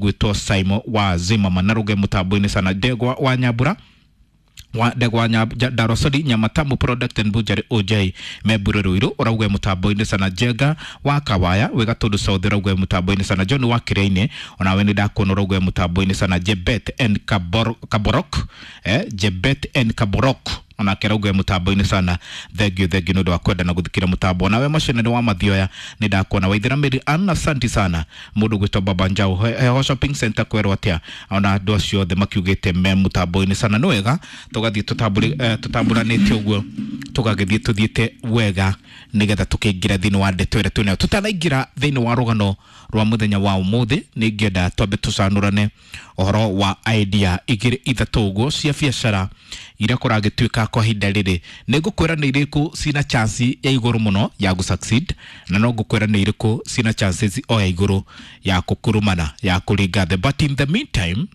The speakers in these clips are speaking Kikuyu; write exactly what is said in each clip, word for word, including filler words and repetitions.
Gwĩtwo Simon wa Zimmerman na rũge mũtambo-inĩ sana. Ndegwa wa Nyambura wa Ndegwa Darosori Nyamatamu Product and Butchery O J Membure Ruiru ũrauga mũtambo-inĩ sana. Njenga wa Kawaya wĩ Gatundu South ũrauga mũtambo-inĩ sana. John wa Kĩrĩa-inĩ, onawe nĩ ndakuona, ũrauga mũtambo-inĩ sana. Jebet and Kabor, Kaborok eh, Jebet and Kaborok onake arauga mũtambo-inĩ sana. Thank you, thank you nĩ ũndũ wa kwenda na gũthikĩra mũtambo. Nawe macenere wa Mathioya nĩ ndakuona. Waithera Mary Ann, asanti sana. Mũndũ gwĩtwo Baba Njau Heho Shopping Center kwerwo atĩa, ona andũ acio othe makiugĩte me mũtambo-inĩ sana. Nĩ wega tũgathiĩ tũtambũrĩ- eh, tũtambũranĩte ũguo, tũgagĩthiĩ tũthiĩte wega nĩgetha tũkĩingĩra thĩinĩ wa ndeto ĩrĩa twĩnayo. Tũtanaingĩra thĩinĩ wa rũgano rwa mũthenya wa ũmũthĩ, nĩ ingĩenda twambe tũcanũrane ũhoro wa idea igĩrĩ ithatũ ũguo cia biacara iria kũragĩtuĩka kwa ihinda rĩrĩ. Nĩ ngũkwĩra nĩ irĩkũ cina chance ya igũrũ mũno ya gũ succeed, na no ngũkwĩra nĩ irĩkũ cina chances o ya igũrũ ya kũkurumana, ya kũringa thĩ. But in the meantime,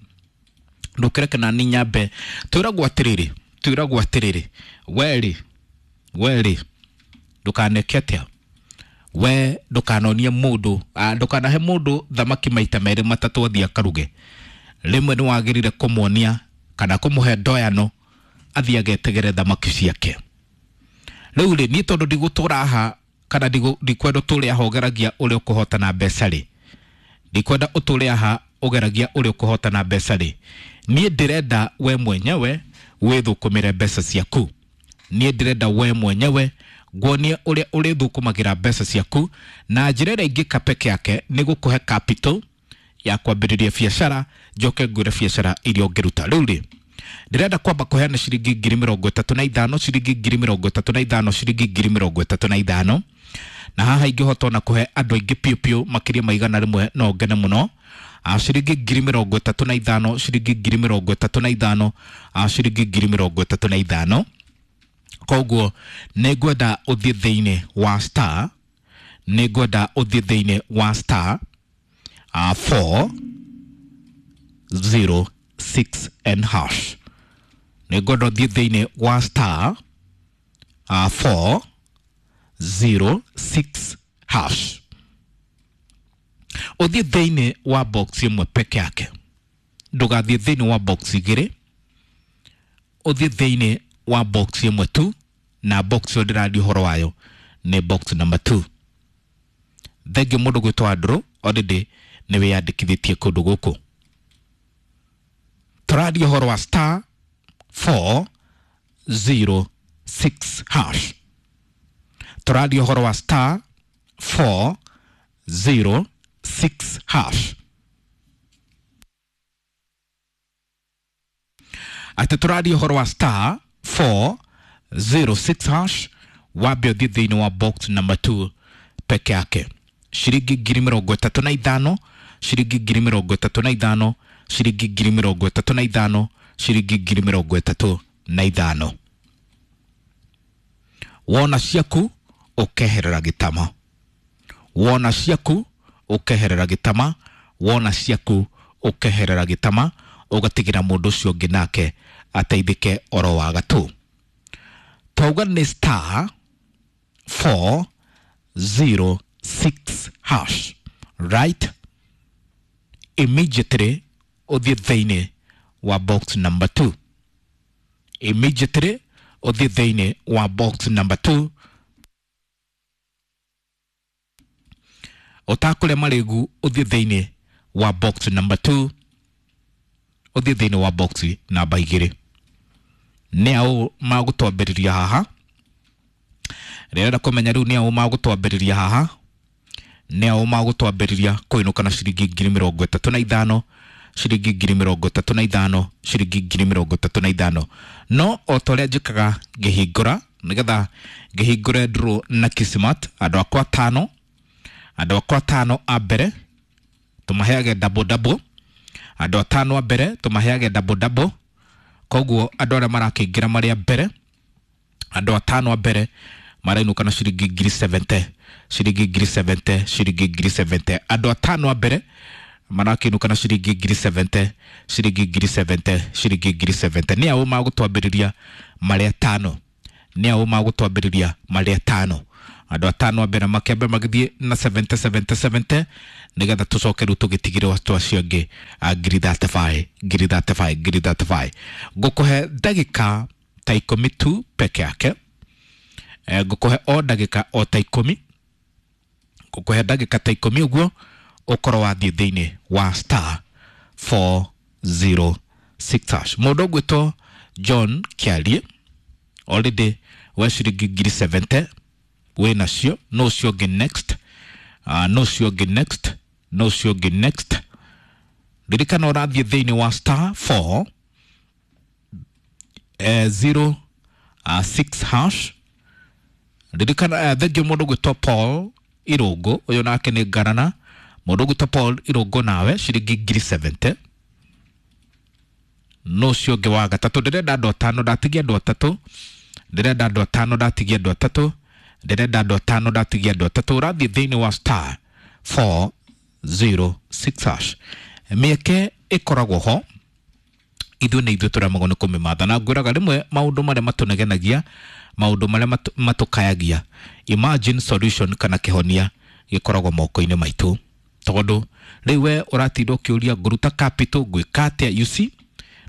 ndũkĩreke na ni nyambe twĩragwo atĩrĩrĩ twĩragwo atĩrĩrĩ werĩ werĩ ndũkaneke atĩa, we ndũkanonie mũndũ, ah, ndũkanahe mũndũ thamaki maita merĩ matatũ athiĩ akaruge. Rĩmwe nĩ wagĩrĩire kũmuonia kana kũmũhe ndoyano athiĩ agetegere thamaki ciake. Rĩu rĩ, niĩ tondũ ndigũtũra haha kana ndigu- ndikwenda ũtũre haha ũgeragia ũrĩa ũkũhotana mbeca rĩ, ndikwenda ũtũre haha ũgeragia ũrĩa ũkũhotana mbeca rĩ, niĩ ndĩrenda we mwenyewe wĩthũkũmĩre mbeca ciaku. Niĩ ndĩrenda we mwenyewe nguonie ũrĩa ũrĩthũkũmagĩra mbeca ciaku, na njĩra ĩrĩa ingĩka peke yake nĩ gũkũhe capital ya kwambĩrĩria biacara, njoke ngwĩre biacara iria ũngĩruta. Rĩu rĩ, ndĩrenda kwamba kũheana ciringi ngiri mĩrongo ĩtatũ na ithano, ciringi ngiri mĩrongo ĩtatũ na ithano, ciringi ngiri mĩrongo ĩtatũ na ithano. Na haha ingĩhota ona kũhe andũ aingĩ piũ piũ makĩria ma igana rĩmwe no ngene mũno. Ah, ciringi ngiri mĩrongo ĩtatũ na ithano, ciringi ngiri mĩrongo ĩtatũ na ithano, ah, ciringi ngiri mĩrongo ĩtatũ na ithano. Koguo nĩ ngwenda ũthiĩ thĩinĩ wa star nĩ ngwenda ũthiĩ thĩinĩ wa star uh, four zero six and hash. Nĩ ngwenda ũthiĩ thĩinĩ wa star uh, four zero six hash, ũthiĩ thĩinĩ wa box ĩmwe peke yake, ndũgathiĩ thĩinĩ wa box igĩrĩ, ũthiĩ thĩinĩ wa box ĩmwe tu, na box ĩyo ndĩraria ũhoro wayo nĩ box number two. Thengiũ mũndũ gwĩtwo Andrew, already nĩ wĩyandĩkithĩtie kũndũ gũkũ. Tũraria ũhoro wa star four zero six hash. Tũraria ũhoro wa star four zero six hash. Atĩ tũraria ũhoro wa star four zero six hash, wambe ũthiĩ thĩinĩ wa box number two peke yake. Ciringi ngiri mĩrongo ĩtatũ na ithano, ciringi ngiri mĩrongo ĩtatũ na ithano, ciringi ngiri mĩrongo ĩtatũ na ithano, ciringi ngiri mĩrongo ĩtatũ na ithano. Wona ciaku ũkeherera gĩtama, wona ciaku ũkeherera gĩtama, wona ciaku ũkeherera gĩtama, ũgatigĩra mũndũ ũcio ũngĩ nake ateithĩke oro wa gatũ. Twauga nĩ star four zero six hash, right? Immediately ũthiĩ thĩinĩ wa box number two. Immediately ũthiĩ thĩinĩ wa box number two. Ũtakũrĩa marĩgu, ũthiĩ thĩinĩ wa box number two, ũthiĩ thĩinĩ wa box namba igĩrĩ. Nĩ aũ magũtwambĩrĩria haha? Rĩrenda kũmenya rĩu nĩ aũ magũtwambĩrĩria haha, nĩ aũ magũtwambĩrĩria kũinũka na ciringi ngiri mĩrongo ĩtatũ na ithano, ciringi ngiri mĩrongo ĩtatũ na ithano, ciringi ngiri mĩrongo ĩtatũ na ithano. No o ta ũrĩa njĩkaga ngĩhingũra, nĩgetha ngĩhingũre draw na Kismat, andũ akwa atano andũ akwa atano a mbere tũmaheage double double. Andũ atano a mbere tũmaheage double double. Koguo andũ arĩa marakĩingĩra marĩ a mbere, andũ atano a mbere marainũka na ciringi ngiri mĩrongo mũgwanja, ciringi ngiri mĩrongo mũgwanja, ciringi ngiri mĩrongo mũgwanja. Andũ atano a mbere marakĩinũka na ciringi ngiri mĩrongo mũgwanja, ciringi ngiri mĩrongo mũgwanja, ciringi ngiri mĩrongo mũgwanja. Nĩ aũ magũtwambĩrĩria marĩ atano? Nĩ aũ magũtwambĩrĩria marĩ atano? Andũ atano a mbere makĩambe magĩthiĩ na seventy seventy seventy nĩgetha tũcoke rĩu tũgĩtigĩre watu acio angĩ a ngiri thirty five ngiri thirty five ngiri thirty five. Ngũkũhe ndagĩka ta ikũmi tu peke yake. Eh, ngũkũhe o ndagĩka o ta ikũmi, ngũkũhe ndagĩka ta ikũmi ũguo ũkorwo wathiĩ thĩinĩ wa star four zero six hash. Mũndũ ũgwĩtwo John Kĩarie already we ciringi ngiri seventy wĩ nacio. No ũcio ũngĩ next, uh, no ũcio ũngĩ next, no ũcio ũngĩ next. Ririkana ũrathiĩ thĩinĩ wa star four eh, zero uh, six hash. Ririkana eh, thengio mũndũ ũgwĩtwo Paul Irũngũ, ũyũ nake nĩ ngarana. Mũndũ ũgwĩtwo Paul Irũngũ nawe ciringi ngiri seventy. No ũcio ũngĩ wa gatatũ, ndĩrenda andũ atano, ndatigia andũ atatũ, ndĩrenda andũ atano, ndatigia andũ atatũ, ndĩrenda andũ atano, ndatigia andũ atatũ. Ũrathiĩ thĩinĩ wa star four zero six hash. Mĩeke ĩkoragwo ho, ithuĩ nĩ ithuĩ tũremagwo nĩ kũmĩmatha. Na ngwĩraga rĩmwe maũndũ marĩa matũnegenagia, maũndũ marĩa matũkayagia, imagine solution kana kĩhonia gĩkoragwo moko-inĩ maitũ. Tondũ rĩu we ũratinda ũkĩũria ngũruta capital ngwĩka atĩa, you see,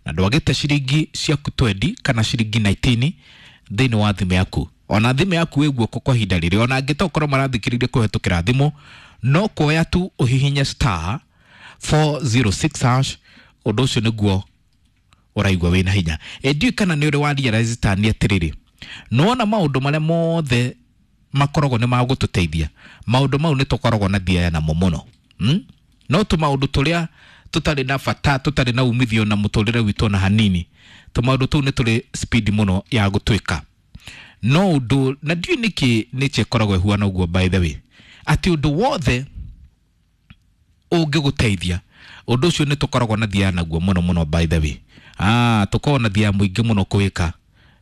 na ndwagĩte ciringi ciaku twenty kana ciringi nineteen thĩinĩ wa thimũ yaku. Ona thimũ yaku ĩ guoko kwa ihinda rĩrĩ, ona angĩ tokorwo marathikĩrĩria kũhetũkĩra thimũ, no kuoya tu ũhihinye star four zero six hash, ũndũ ũcio nĩguo ũraigua wĩna hinya. Ĩ ndiũĩ kana nĩ ũrĩ wa realize ta nĩ atĩrĩrĩ, nĩwona maũndũ marĩa mothe makoragwo nĩ magũtũteithia, maũndũ mau nĩ tũkoragwo na thiaya namo mũno. Hmm? No tũmaũndũ tũrĩa tũtarĩ na bata, tũtarĩ na umithio na mũtũrĩre witũ ona hanini, tũmaũndũ tũu nĩ tũrĩ speed mũno ya gũtwĩka. No ũndũ, na ndiũĩ nĩkĩ nature ĩkoragwo ĩhuana ũguo by the way, atĩ ũndũ wothe ũngĩgũteithia, ũndũ ũcio nĩ tũkoragwo na thiaya naguo mũno mũno by the way. Ah, tũkoragwo na thiaya mũingĩ mũno kwĩka.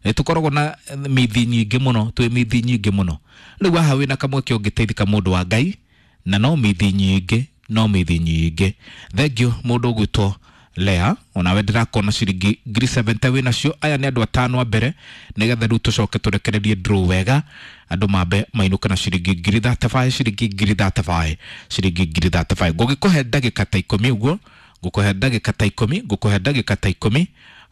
Nĩ tũkoragwo na mithi nyingĩ mũno, twĩ mithi nyingĩ mũno. Rĩu haha wĩna kamweke ũngĩteithĩka mũndũ wa Ngai, na no mithi nyingĩ, no mithi nyingĩ. Thank you mũndũ ũgwĩtwo Lea, onawe ndĩrakona ciringi ngiri seventy wĩ nacio. Aya nĩ andũ atano a mbere, nĩgetha rĩu tũcoke tũrekererie draw wega, andũ mambe mainũke na ciringi ngiri thirty five, ciringi ngiri thirty five, ciringi ngiri thirty five. Ngũgĩkũhe ndagĩka ta ikũmi ũguo, ngũkũhe ndagĩka ta ikũmi, ngũkũhe ndagĩka ta ikũmi,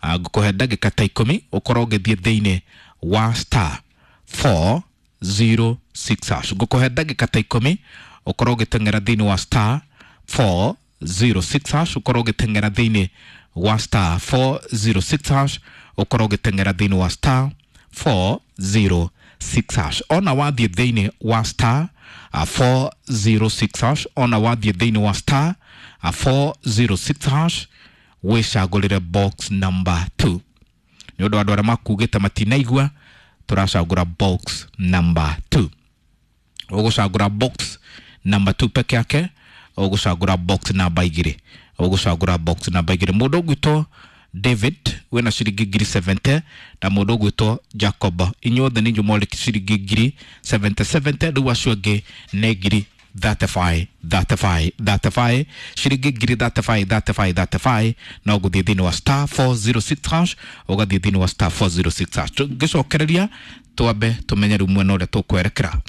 ngũkũhe ndagĩka ta ikũmi, ũkorwo ũgĩthiĩ thĩinĩ wa star four zero six hash. Ngũkũhe ndagĩka ta ikũmi, ũkorwo ũgĩteng'era thĩinĩ wa star four zero six hash, ũkorwo ũgĩteng'era thĩinĩ wa star four zero six hash, ũkorwo ũgĩteng'era thĩinĩ wa star four zero six hash. Ona wathiĩ thĩinĩ wa star four zero six hash, ona wathiĩ thĩinĩ wa star four zero six hash, wĩcagũrĩre box number two. Nĩ ũndũ wa andũ arĩa makugĩte matinaigua, tũracagũra box number two. Ũgũcagũra box number two peke yake, ũgũcagũra box number igĩrĩ, ũgũcagũra box number igĩrĩ. Mũndũ ũgwĩtwo David wĩna ciringi ngiri seventy na mũndũ ũgwĩtwo Jacob, inyuothe nĩ inyuĩ mwarĩ ciringi ngiri seventy seventy, rĩu acio angĩ nĩ ngiri thirty five thirty five thirty five, ciringi ngiri thirty five thirty five thirty five. No gũthiĩ thĩinĩ wa star four zero six hash, ũgathiĩ thĩinĩ wa star four zero six hash. Tũngĩcokereria twambe tũmenye rĩu mwena ũrĩa tũkwerekera.